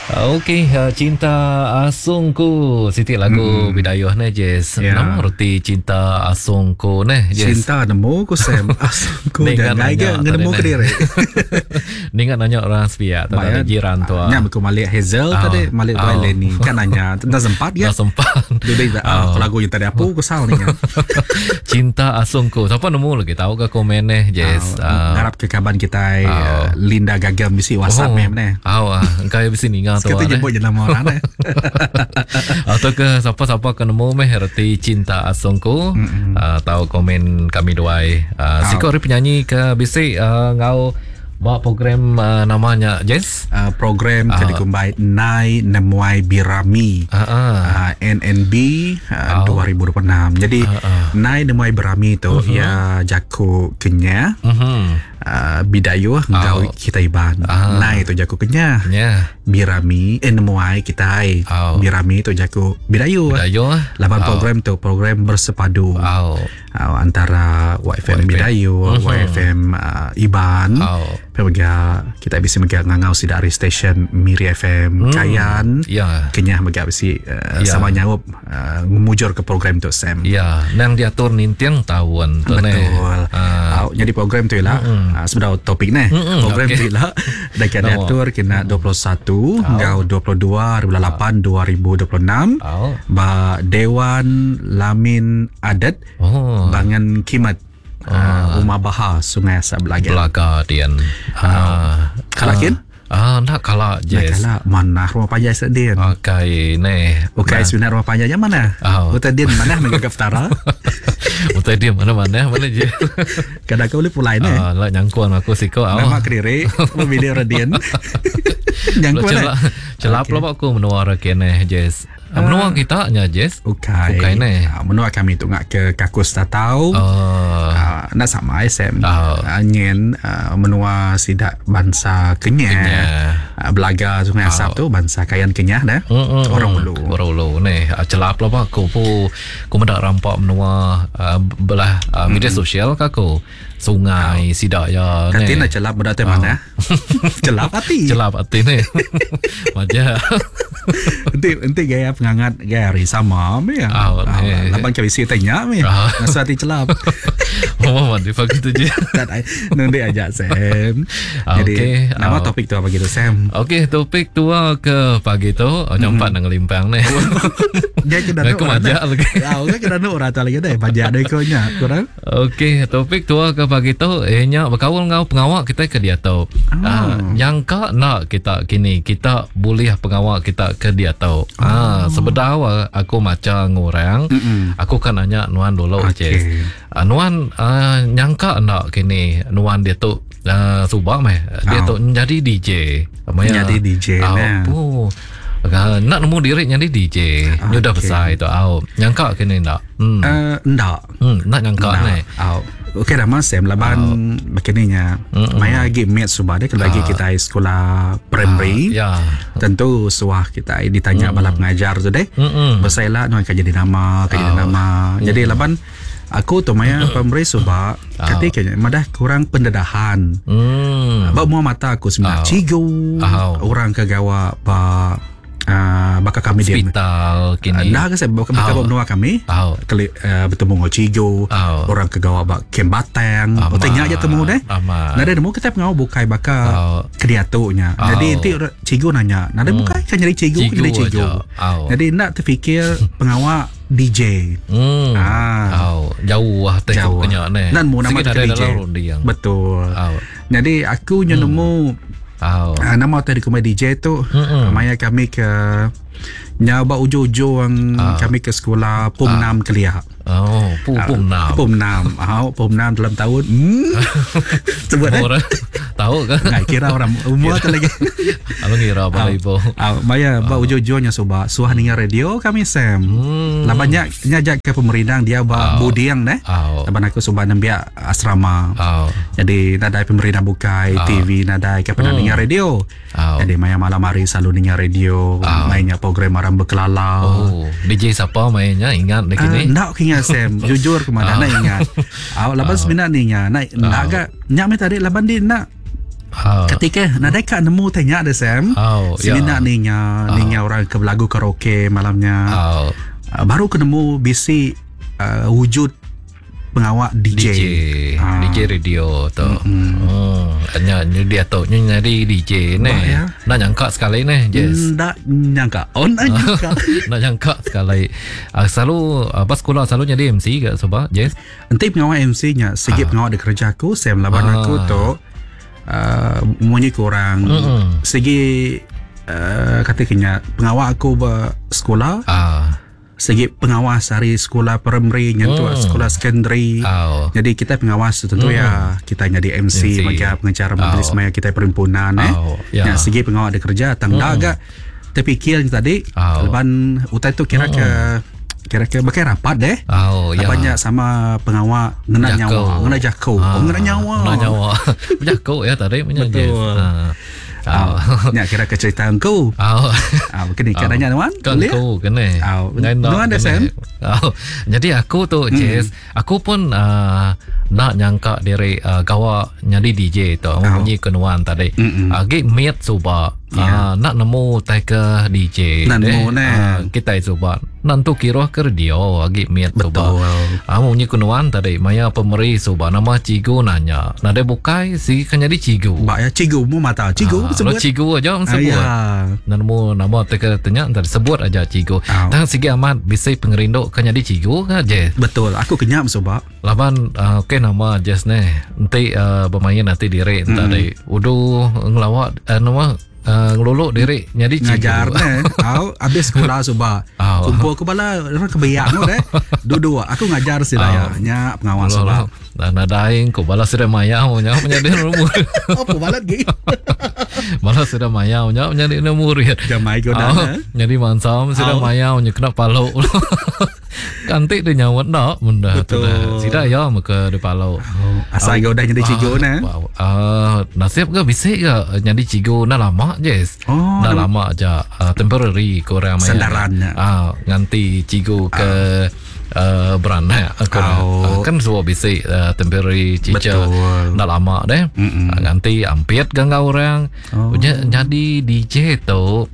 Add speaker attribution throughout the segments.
Speaker 1: Okey, uh, Cinta Asungku siti lagu mm. Bidayuh ne Jess. Yeah. Nama reti Cinta Asungku ne
Speaker 2: Jess? Cinta nemu ku Sam. Asungku jangan ga nemu ke diri.
Speaker 1: Ninga nanya orang sepiak tu tadi jiran tu.
Speaker 2: Nya aku malik Hazel oh. tadi, malik oh. Lenny. Kan nanya, enda sempat
Speaker 1: ya. Enda sempat.
Speaker 2: Dudi oh. lagu yang tadi aku kesal ni.
Speaker 1: Cinta Asungku. Siapa nemu lagi tahu ke komen ne Jess.
Speaker 2: Oh. Uh. Ngarap ke kaban kita oh. Linda Gagam bisi WhatsApp oh. meh.
Speaker 1: Au ah, engka iya bisi ninga tu.
Speaker 2: Sekali jemput je nama orang eh.
Speaker 1: Atau ke siapa-siapa ke nemu meh reti cinta asungku mm-hmm. uh, tau komen kami duai. Uh, siku ari penyanyi ke bisi uh, ngau ba program uh, namanya Jess?
Speaker 2: Program ke dikumbai Nai Nemuai Birami uh, uh. Uh, NNB uh, oh. 2026. Jadi uh, uh. Nai Nemuai Birami tu uh-huh. ya jaku Kenya. Uh-huh. Uh, Bidayuh enggau oh. kita Iban. Ah. Nai tu jaku Kenyah. Yeah. Birami eh nemuai kita. Oh. Birami tu jaku Bidayuh.
Speaker 1: Bidayuh.
Speaker 2: Laban oh. program tu program bersepadu.
Speaker 1: Oh.
Speaker 2: Uh, antara YFM Bidayuh, YFM Iban.
Speaker 1: Oh.
Speaker 2: Pia mega kita bisi mega ngangau sida ari stesen Miri FM, Kayan.
Speaker 1: Yeah.
Speaker 2: Kenyah mega bisi uh,
Speaker 1: yeah.
Speaker 2: sama nyaup uh, ngemujur ke program tu Sam.
Speaker 1: Ya, nang diatur ninting taun
Speaker 2: tu ne. Betul. Uh. Jadi program tu ialah mm-hmm. uh, sebedau topik ne. Mm-hmm. Program
Speaker 1: okay.
Speaker 2: tu ialah dekat diatur kena 21 oh. enggau 22 bulan 8 2026
Speaker 1: oh.
Speaker 2: ba Dewan Lamin Adat
Speaker 1: oh.
Speaker 2: Bangan Kimat uh, Rumah Baha Sungai Asap Belaga.
Speaker 1: Belaga dian.
Speaker 2: Ah, kala kin?
Speaker 1: Ah, nak kala
Speaker 2: Nak
Speaker 1: yes.
Speaker 2: kala mana rumah panjai sik din.
Speaker 1: Okey, neh.
Speaker 2: Ukai sebenar rumah panjai nya mana?
Speaker 1: Oh.
Speaker 2: Utai din mana mega petara.
Speaker 1: Utai din mana mana mana je.
Speaker 2: Kadang kau boleh pulai ne.
Speaker 1: Ah, lah nyangkuan aku siko.
Speaker 2: Oh. Nama kediri memilih redin. Nyangkuan.
Speaker 1: Celap, celap okay. lah aku menua kene Jess. Uh, menua kita nya Jess.
Speaker 2: Ukai.
Speaker 1: Ukai ne.
Speaker 2: Uh, menua kami tu ngak ke Kakus Tatau.
Speaker 1: Oh.
Speaker 2: Uh, nak sama SM.
Speaker 1: Oh.
Speaker 2: Uh, nyen uh, menua sidak bangsa Kenyah.
Speaker 1: Kenyah.
Speaker 2: Uh, Belaga Sungai Asap tu bangsa Kayan Kenyah dah.
Speaker 1: Mm,
Speaker 2: Orang Ulu.
Speaker 1: Orang Ulu ne. Uh, celap lah aku pu ku meda rampak menua uh, belah uh, media sosial ka aku. Sungai oh. sidak ya
Speaker 2: ne. Kati nak celap budak tu mana? Celap hati.
Speaker 1: Celap hati ne. Macam
Speaker 2: Enti enti gaya pengangat gaya hari sama me ya.
Speaker 1: Oh,
Speaker 2: Ah, laban ke bisi tanya me.
Speaker 1: Ah.
Speaker 2: Ngasuh hati celap.
Speaker 1: Oh, mandi pagi tu je.
Speaker 2: Tak nanti ajak Sam.
Speaker 1: Ah,
Speaker 2: Jadi
Speaker 1: okey.
Speaker 2: nama
Speaker 1: Ah.
Speaker 2: topik tu apa gitu Sam?
Speaker 1: Okey, topik tua ke pagi tu, oh, nyampak nak ngelimpang ni.
Speaker 2: Dia kena
Speaker 1: Aku majak lagi.
Speaker 2: Ya, orang kena nak orang lagi dah. Pajak dah kau nya. Kurang.
Speaker 1: Okey, topik tua ke pagi tu eh nya berkaul ngau pengawak kita ke dia tu. Ah, nyangka nak kita kini kita boleh pengawak kita ke dia tu. Ah, sebedau aku maca ngorang, aku kan nanya nuan dulu
Speaker 2: Okey.
Speaker 1: Jess. Ah, nuan nyangka nak kini nuan dia tu subak meh. Dia tu jadi DJ. Maya,
Speaker 2: Jadi DJ,
Speaker 1: Ah,
Speaker 2: nah.
Speaker 1: oh. Ah, nak nemu diri jadi DJ. Ni dah
Speaker 2: Okey.
Speaker 1: besar itu. Ah, nyangka kini nak. Hmm.
Speaker 2: Ndak.
Speaker 1: Nak nyangka ni.
Speaker 2: Au. Okey dah mas Sam laban begininya. Maya lagi met subah dia kalau lagi kita sekolah primary.
Speaker 1: Ya.
Speaker 2: Tentu suah kita ditanya bala pengajar tu deh.
Speaker 1: Mm-mm.
Speaker 2: Bersaila nuan kerja di nama, kerja di nama. Jadi laban aku tu maya primary subah ketika madah kurang pendedahan.
Speaker 1: Hmm.
Speaker 2: Ba mua mata aku sebenarnya cigu
Speaker 1: Au.
Speaker 2: orang ke gawa ba baka kami dia.
Speaker 1: Hospital kini.
Speaker 2: Dah ke saya baka baka menua kami.
Speaker 1: Au.
Speaker 2: Kali bertemu dengan cigu,
Speaker 1: Au.
Speaker 2: orang ke gawa ba kem batang.
Speaker 1: Amat.
Speaker 2: Tanya aja temu deh.
Speaker 1: Amat.
Speaker 2: Nada nemu kita pengau bukai baka
Speaker 1: Au.
Speaker 2: kediatunya. Jadi
Speaker 1: Au.
Speaker 2: nanti cigu nanya, nada bukai kan jadi cigu,
Speaker 1: Cigu
Speaker 2: jadi cigu.
Speaker 1: aja. Au.
Speaker 2: Jadi nak terfikir pengawak DJ.
Speaker 1: Hmm.
Speaker 2: Ah.
Speaker 1: Au, jauh lah tengok
Speaker 2: Jauh.
Speaker 1: kenya ni.
Speaker 2: Dan mu nama
Speaker 1: Sikit ada
Speaker 2: DJ.
Speaker 1: dalam runding.
Speaker 2: Betul.
Speaker 1: Au.
Speaker 2: Jadi aku nyu nemu
Speaker 1: Au.
Speaker 2: nama tadi kumai DJ tu
Speaker 1: Mm-mm.
Speaker 2: maya kami ke nyawa ujung-ujung kami ke sekolah Pom 6 Kelia.
Speaker 1: Oh, pu pum nam.
Speaker 2: Pom 6. Ah, Pom 6 dalam tahun. Sebut eh.
Speaker 1: Orang tahu ke?
Speaker 2: Nggak kira orang umur tu lagi.
Speaker 1: Abang kira apa ibu.
Speaker 2: Ah, maya ba ujung-ujungnya soba suah ninga radio kami Sam.
Speaker 1: Hmm.
Speaker 2: Lah banyak nyajak ke pemerindang dia ba budiang deh.
Speaker 1: Au.
Speaker 2: Laban aku soba nembiak asrama.
Speaker 1: Au.
Speaker 2: Jadi nadai pemerintah bukai TV nadai ke pernah ninga radio.
Speaker 1: Au.
Speaker 2: Jadi maya malam hari selalu ninga radio, mainnya program orang berkelala.
Speaker 1: Oh, DJ siapa mainnya ingat lagi
Speaker 2: Ah,
Speaker 1: ni?
Speaker 2: nak ingat Sam Jujur ke mana Nak ingat Awak laban sebenarnya ni ingat Nak nak agak Nyak mi tadi laban dia nak Ketika nadai ka nemu tanya deh Sam.
Speaker 1: Oh, ya.
Speaker 2: Semina ninga ninga orang ke belagu karaoke malamnya.
Speaker 1: Oh.
Speaker 2: Baru ke nemu bisi wujud pengawa DJ.
Speaker 1: DJ, DJ radio tu. Hmm. Nya dia tu nya jadi DJ ne.
Speaker 2: Ya.
Speaker 1: Nak nyangka sekali ne, Jess.
Speaker 2: Ndak nyangka. Oh, ndak nyangka.
Speaker 1: Nak nyangka sekali. Selalu pas sekolah selalu jadi MC ke sebab Jess?
Speaker 2: Enti pengawa MC nya sigi pengawa dikerja aku Sam laban aku tu munyi kurang sigi kata kenya pengawa aku ba sekolah. Segi pengawas hari sekolah primary nyentuh sekolah secondary. Jadi kita pengawas tu tentu ya kita jadi MC, maka pengacara majlis maya kita perhimpunan Ya segi pengawa ada kerja tang dah agak terfikir tadi leban utai tu kira ke kira ke bakai rapat deh. Banyak sama pengawak ngena nyawa, ngena jako, ngena nyawa.
Speaker 1: Ngena nyawa. Jako ya tadi punya.
Speaker 2: Betul. Nya kira ke cerita engkau. Kena kira nanya nuan.
Speaker 1: Engkau kena.
Speaker 2: Nuan dah Sam.
Speaker 1: Jadi aku tu Jess, aku pun nak nyangka diri gawa nyadi DJ tu. Munyi ke nuan tadi. Agi miat suba. Nak nemu tai ke DJ.
Speaker 2: Nak nemu ne.
Speaker 1: Kita suba. Nantu kira ke radio agi miat suba. Munyi ke nuan tadi maya pemeri suba nama cikgu nanya. Nadai bukai si kan jadi cikgu.
Speaker 2: Ba ya cikgu mu mata. Cikgu sebut.
Speaker 1: Cikgu aja sebut. Nemu nama teka tanya entar sebut aja cikgu. Tang sigi amat bisi pengerindu kan jadi cikgu ke Jess.
Speaker 2: Betul, aku kenyap suba.
Speaker 1: Laban okey nama Jess ne. Enti bermain nanti diri entar tadi. Udu ngelawak nama ngeluluk diri jadi cikgu.
Speaker 2: Ngajar ne. Au habis sekolah suba. Kumpul ke bala orang kebiak nu deh. Duduk aku ngajar sila ya. Nya pengawas suba.
Speaker 1: Dan nadain ku bala sudah mayau nya menjadi murid.
Speaker 2: Apa bala gi?
Speaker 1: Bala sudah mayau nya menjadi murid.
Speaker 2: Jamai ko dah.
Speaker 1: Jadi mansam sudah mayau nya kena palu. Kantik dia nyawa nak benda tu dah. Sida ya maka dia palu.
Speaker 2: Asal kau dah jadi cikgu ne.
Speaker 1: Nasib ke bisik ke jadi cikgu dah lama je. Dah lama aja temporary korang main.
Speaker 2: Sandaran.
Speaker 1: Nganti cikgu ke beranak aku kan semua bisik temporary teacher dah lama deh. Nganti ampit gangga orang. Jadi DJ tu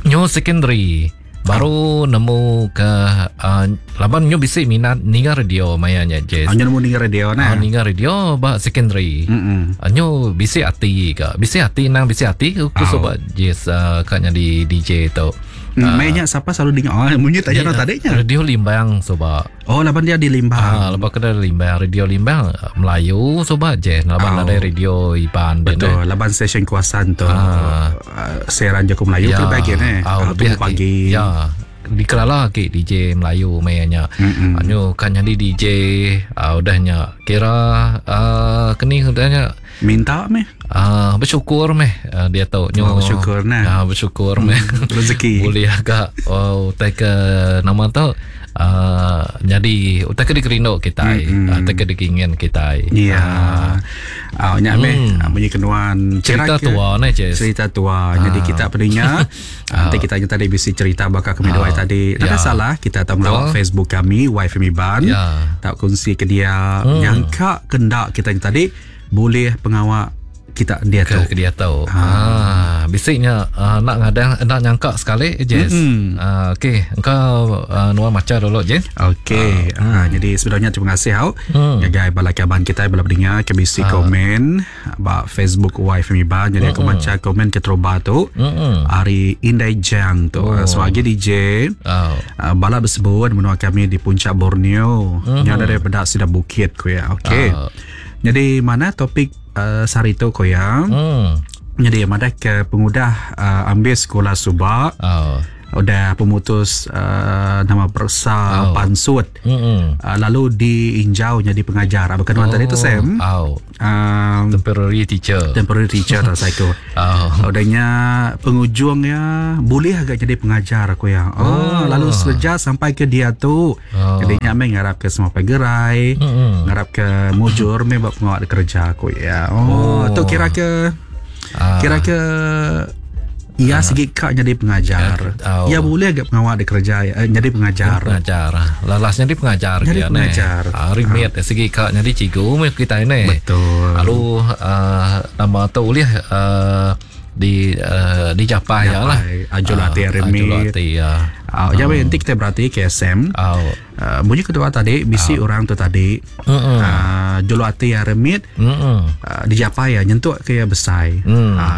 Speaker 1: new secondary baru nemu ke laban nyu bisik minat ninga radio mayanya Jess.
Speaker 2: Nyu nemu ninga radio nah.
Speaker 1: Ninga radio ba secondary. Nyu bisik hati ke. Bisik hati nang bisik hati aku sobat Jess kat jadi DJ tu.
Speaker 2: Mainnya siapa selalu dengar? Oh, munyi tanya nak tadinya.
Speaker 1: Radio Limbang sobat.
Speaker 2: Oh, laban dia di Limbang.
Speaker 1: Laban kena Limbang, radio Limbang Melayu sobat je. Laban ada radio Iban.
Speaker 2: Betul, laban stesen kuasan tu. Siaran jago Melayu ke bagian
Speaker 1: lebih
Speaker 2: pagi.
Speaker 1: Ya. Dikelala ke DJ Melayu mainnya. Anu kan jadi DJ udahnya kira keni udahnya
Speaker 2: minta meh.
Speaker 1: Bersyukur meh dia tahu nyo
Speaker 2: bersyukur nah.
Speaker 1: Bersyukur meh
Speaker 2: rezeki.
Speaker 1: Boleh agak utai ke nama tu jadi utai ke dikerindu kita, utai ke dikingin kita.
Speaker 2: Ya. Nya meh bunyi kenuan
Speaker 1: cerita tua ne Jess.
Speaker 2: Cerita tua. Jadi kita pendengar nanti kita tadi bisi cerita bakal kami dua tadi. Tak salah kita tahu melawat Facebook kami YFM Iban. Tak kongsi ke dia nyangka kendak kita tadi boleh pengawak kita dia
Speaker 1: tahu. Ke dia tahu. Bisiknya nak ngadang nak nyangka sekali Jess. Okey, engkau nuan maca dulu Jess.
Speaker 2: Okey. Jadi sebenarnya terima kasih hau. Ngagai bala kaban kita bala pendengar ke bisi komen ba Facebook YFM Iban. Jadi aku baca komen ke teroba tu. Hari Indai Jang tu sebagai DJ. Bala bersebut menua kami di puncak Borneo. Yang daripada sida bukit ku ya. Okey. Jadi mana topik sehari tu koyang. Jadi mana ke pengudah ambil sekolah subak. Udah pemutus nama persa pansut. Lalu diinjau jadi pengajar. Apa kenuan tadi tu Sam?
Speaker 1: Temporary teacher.
Speaker 2: Temporary teacher tak saya. Udahnya pengujungnya boleh agak jadi pengajar aku ya. Lalu sejak sampai ke dia tu. Jadi nyamai ngarap ke semua pegerai, ngarap ke mujur me buat pengawak kerja aku ya. Tu kira ke kira ke Iya sigi ka nyadi pengajar. Iya bulih ga pengawa dikereja iya nyadi pengajar.
Speaker 1: Pengajar. Lalas nyadi pengajar
Speaker 2: Nyadi pengajar.
Speaker 1: Ari mit sigi ka nyadi cikgu meh kitai neh.
Speaker 2: Betul.
Speaker 1: Lalu nama tu ulih di dijapai iya lah.
Speaker 2: Ajul ati ari mit.
Speaker 1: Ajul ati iya.
Speaker 2: Nya meh enti kitai berati KSM. Munyi ketua tadi bisi orang tu tadi juluk ati ari mit dijapai iya nyentuk ke iya besai.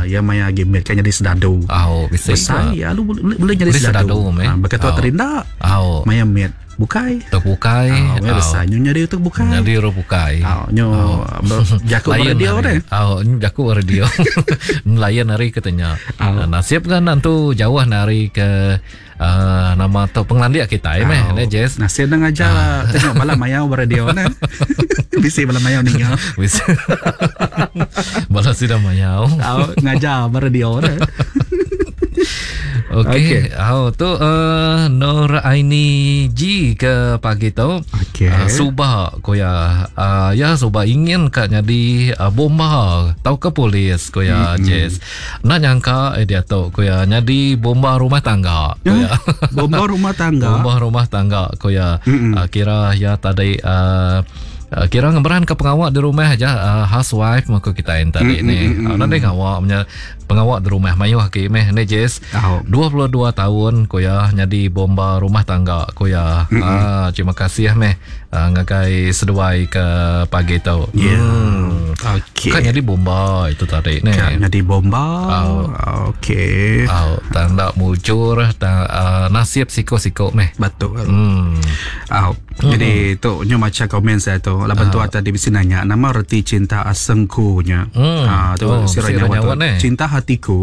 Speaker 2: Iya maya agi mit kan nyadi sedadu. Besai iya lalu boleh nyadi sedadu. Baka tua tadi enda maya mit bukai.
Speaker 1: Tok bukai.
Speaker 2: Maya besai nyu nyadi tok bukai.
Speaker 1: Nyadi orang bukai.
Speaker 2: Nyu jaku ba radio deh.
Speaker 1: Jaku ba radio. Lain ari ke tanya. Nasib kan antu jauh ari ke nama tu pengelandik kitai meh ne Jess.
Speaker 2: Nasib enda ngajar tengok bala mayau ba radio ne. Bisi bala mayau ninga.
Speaker 1: Bisi. Bala sida mayau.
Speaker 2: Au ngajar ba radio ne.
Speaker 1: Okey. Okay. Au tu Nur Aini G ke pagi tu.
Speaker 2: Okey.
Speaker 1: Suba ko ya. Ya suba ingin ka nyadi bomba tauka polis ko ya Jess. Enda nyangka eh diatu ku iya nyadi bomba rumah tangga ku iya.
Speaker 2: Bomba rumah tangga.
Speaker 1: Bomba rumah tangga ku iya. Uh, kira iya tadi uh, kira ngemeran ke pengawa di rumah aja uh, housewife mah ku kita yang tadi ni. Uh, Nadai ngawa punya pengawa di rumah mayuh agi meh ni Jess.
Speaker 2: Oh.
Speaker 1: 22 tahun ku iya nyadi bomba rumah tangga ku iya. Uh, terima kasih meh uh, ngagai seduai ke pagi tu.
Speaker 2: Ya. Yeah. Okey.
Speaker 1: Kan jadi bomba itu tadi ni.
Speaker 2: Kan jadi bomba.
Speaker 1: Oh.
Speaker 2: Okey.
Speaker 1: Oh, tang dak mujur tang uh, nasib siko-siko meh.
Speaker 2: Betul. Oh. Jadi tu nyu maca komen saya tu. Laban tu tadi bisi nanya nama reti cinta asengku nya. Ah tu
Speaker 1: Oh,
Speaker 2: si
Speaker 1: bisi
Speaker 2: Ranya
Speaker 1: nyawa
Speaker 2: tu.
Speaker 1: ni.
Speaker 2: Cinta hatiku.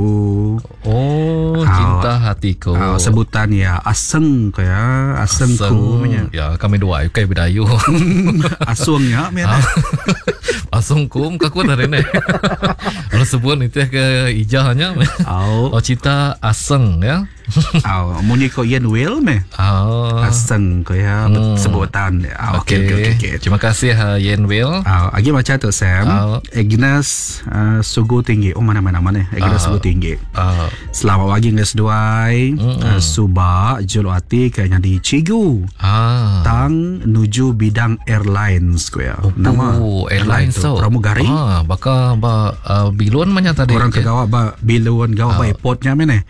Speaker 1: Oh, cinta hatiku.
Speaker 2: Sebutan ya aseng ko ya, asengku nya.
Speaker 1: Ya, kami dua ukai bedayu.
Speaker 2: Asung nya meh.
Speaker 1: Asung kum ke aku tadi ni. Kalau sebut itu ke ijahnya.
Speaker 2: Au.
Speaker 1: Oh, cinta aseng ya.
Speaker 2: Au, munyi ko Ian Will meh.
Speaker 1: Oh.
Speaker 2: Aseng ko ya sebutan. Okey okey okey. Okay.
Speaker 1: Terima kasih Yen Will.
Speaker 2: Agi baca tu Sam. Agnes Sugu Tinggi. Oh mana-mana mana Agnes Sugu Tinggi. Selamat pagi dengan seduai. Suba juluk ati ke nyadi cikgu. Tang nuju bidang airlines ko ya.
Speaker 1: Nama airlines tu.
Speaker 2: Pramugari.
Speaker 1: Baka ba bilun mana tadi.
Speaker 2: Orang ke gawa ba bilun gawa ba airportnya meh.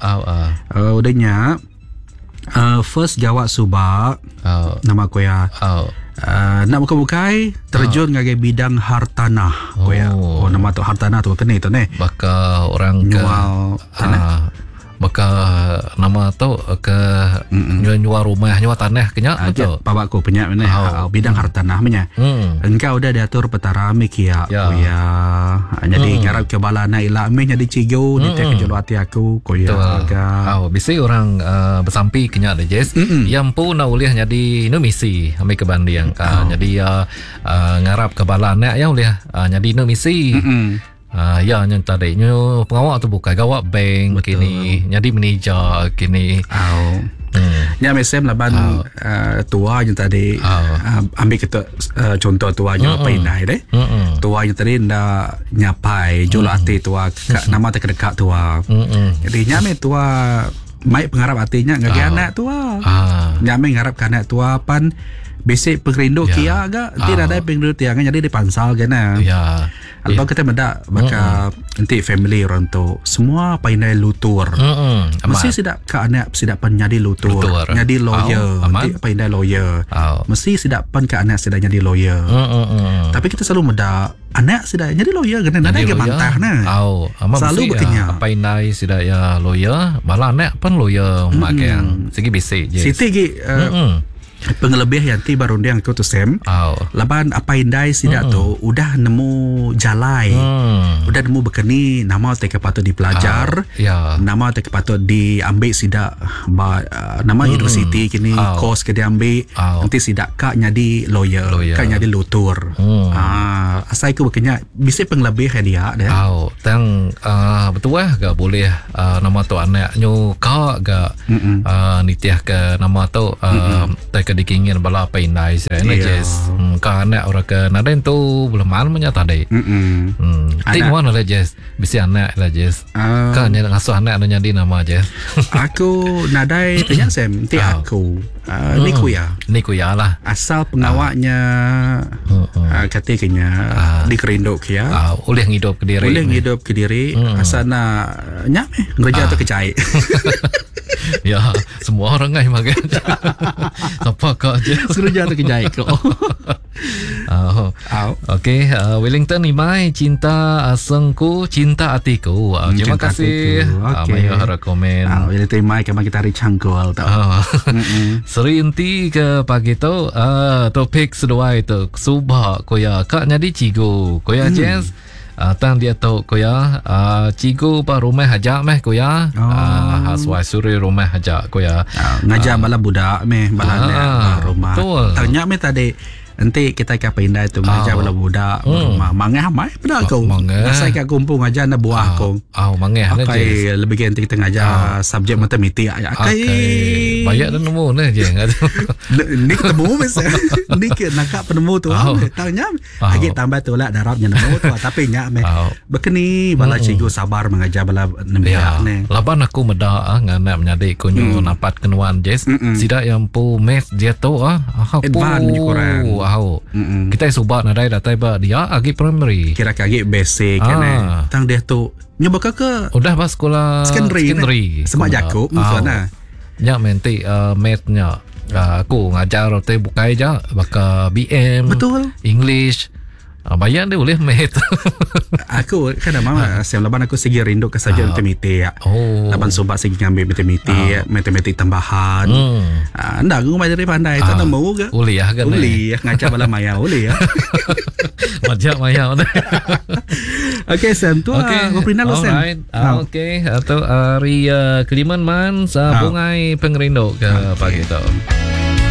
Speaker 2: Udah nya first gawa suba nama ko ya. Nak buka-bukai terjun ngagai bidang hartanah ko ya. Oh nama tu hartanah tu kena tu ne.
Speaker 1: Baka orang ke
Speaker 2: nyual tanah.
Speaker 1: Baka nama tu ke nyual rumah, nyual tanah kenya betul.
Speaker 2: Pabak ko penyak mene bidang hartanah menya. Engkau udah diatur petara mikia ko ya. Jadi ngarap ke bala anak ila meh jadi cikgu ditek ke juluk ati aku ko ya.
Speaker 1: Oh bisi orang bersampi kenya deh Jess. Yang pun nak ulih jadi nu misi ambil ke banding. Jadi ngarap ke bala anak ya ulih jadi nu misi. Ya nyen tadi nyu pengawak tu bukan gawak bank kini jadi manager kini.
Speaker 2: Nya mesem laban tua nyen tadi ambil kita contoh tua nyu apa indai deh. Tua nyen tadi nda nyapai juluk ati tua ka, nama terdekat tua. Jadi nya me tua mai pengarap atinya ngagai anak tua. Nya me ngarap ke anak tua pan basic pengerindu kia ga tidak ada pengerindu tiang jadi dipansal kena.
Speaker 1: Ya.
Speaker 2: Alba kita mendak baka enti family orang tu semua pandai lutur. Mesti sidak ke anak sidak pan jadi lutur, jadi lawyer, enti pandai lawyer. Mesti sidak pan ke anak sidak jadi lawyer. Tapi kita selalu mendak anak sidak jadi lawyer kena nadai ke bantah nah. Selalu berkenya.
Speaker 1: Pandai sidak ya lawyer, malah anak pan lawyer magang. Segi basic je.
Speaker 2: Siti gi pengelebih yang ti baru dia aku tu Sam. Laban apa indai sidak tu udah nemu jalai. Udah nemu bekeni nama te ke patut dipelajar. Nama te ke patut diambil sidak ba, nama universiti kini course ke diambil. Nanti sidak kak nyadi lawyer, kak nyadi lutur. Asai ku bekenya bisi pengelebih dia deh.
Speaker 1: Tang betul lah gak boleh nama tu anak nyu kak gak nitih ke nama tu te ke ke dikingin bala apai indai sida nya Jess. Hmm, ka anak orang ke nadai entu beleman menya tadi.
Speaker 2: Mm-mm.
Speaker 1: Hmm. Ti
Speaker 2: Anak-
Speaker 1: nuan lah Jess, bisi anak lah Jess.
Speaker 2: Ah.
Speaker 1: Ka nya ngasuh anak nu nyadi nama Jess.
Speaker 2: Aku nadai tanya Sam, ti
Speaker 1: Ah.
Speaker 2: aku. Uh, ni ku iya.
Speaker 1: Ni ku iya lah.
Speaker 2: Asal pengawaknya uh, kati ke nya dikerindu ke iya.
Speaker 1: Ah, ulih ngidup ke diri.
Speaker 2: Boleh ngidup ke diri asal nak nya meh ngereja tu kejai.
Speaker 1: Ya, semua orang ngai makan. Siapa ka Jess.
Speaker 2: Ngereja tu kejai ko.
Speaker 1: Ah,
Speaker 2: Au.
Speaker 1: Okey, Wellington Imai cinta asengku, cinta atiku. Terima
Speaker 2: Cinta
Speaker 1: kasih.
Speaker 2: atiku.
Speaker 1: Ah,
Speaker 2: Okey.
Speaker 1: Mayu harap komen.
Speaker 2: Ah, bila terima kami kita hari cangkul tau.
Speaker 1: Ah. Seri enti ke pagi tu topik seduai tu subak koya kak nyadi cigu koya mm. Jazz tang dia tu koya cigu pa rumah aja meh koya
Speaker 2: Oh.
Speaker 1: hasuai suri rumah aja koya
Speaker 2: Ah, ngajar bala budak meh bala
Speaker 1: Ah,
Speaker 2: anak ba rumah.
Speaker 1: betul.
Speaker 2: Tanya meh tadi Enti kita ke pindah tu ngajar bala budak ba rumah. Mangah mai peda aku.
Speaker 1: Ah. Mangah.
Speaker 2: Asai ka kumpul ngajar na buah aku.
Speaker 1: Ah, mangah ne Jess.
Speaker 2: Akai lebih ke enti kita ngajar subjek matematik. Akai.
Speaker 1: Akai banyak dah nemu ne je.
Speaker 2: Ni ketemu meh. Ni ke nakak penemu tu.
Speaker 1: Oh.
Speaker 2: Tanya
Speaker 1: Oh.
Speaker 2: lagi tambah tu lah darabnya nemu tu tapi nya meh.
Speaker 1: Oh.
Speaker 2: Bekeni bala cikgu sabar mengajar bala
Speaker 1: Ya,
Speaker 2: nembiak ni.
Speaker 1: laban aku meda nganak menyadi kunyu napat kenuan Jess. Sida yang pu math dia tu ah aku
Speaker 2: Advance punya kurang.
Speaker 1: Au.
Speaker 2: Mm-mm.
Speaker 1: Kita subak nadai datai ba dia agi primary.
Speaker 2: Kira kagi basic kan eh.
Speaker 1: Ah.
Speaker 2: Tang dia tu nyoba ke ke
Speaker 1: Udah ba sekolah
Speaker 2: secondary.
Speaker 1: secondary.
Speaker 2: ne? Semak Jakub maksudnya.
Speaker 1: Nya menti math nya aku ngajar te bukai ja baka BM.
Speaker 2: Betul.
Speaker 1: English. Bayar dia boleh math.
Speaker 2: Aku kan mama siam laban aku segi rindu ke subjek matematik.
Speaker 1: Oh.
Speaker 2: Laban subak segi ngambil matematik, matematik tambahan. Ah, ndak aku mai dari pandai tak nemu ke.
Speaker 1: Uli ah kan.
Speaker 2: Uli ngajar bala maya uli ya.
Speaker 1: Majak maya.
Speaker 2: Okey Sam tu
Speaker 1: Okey.
Speaker 2: okay. Ngopi lu Sam.
Speaker 1: Alright. Ah, Okey, atau hari Keliman Man,
Speaker 2: Ah.
Speaker 1: bungai pengerindu ke pagi tu.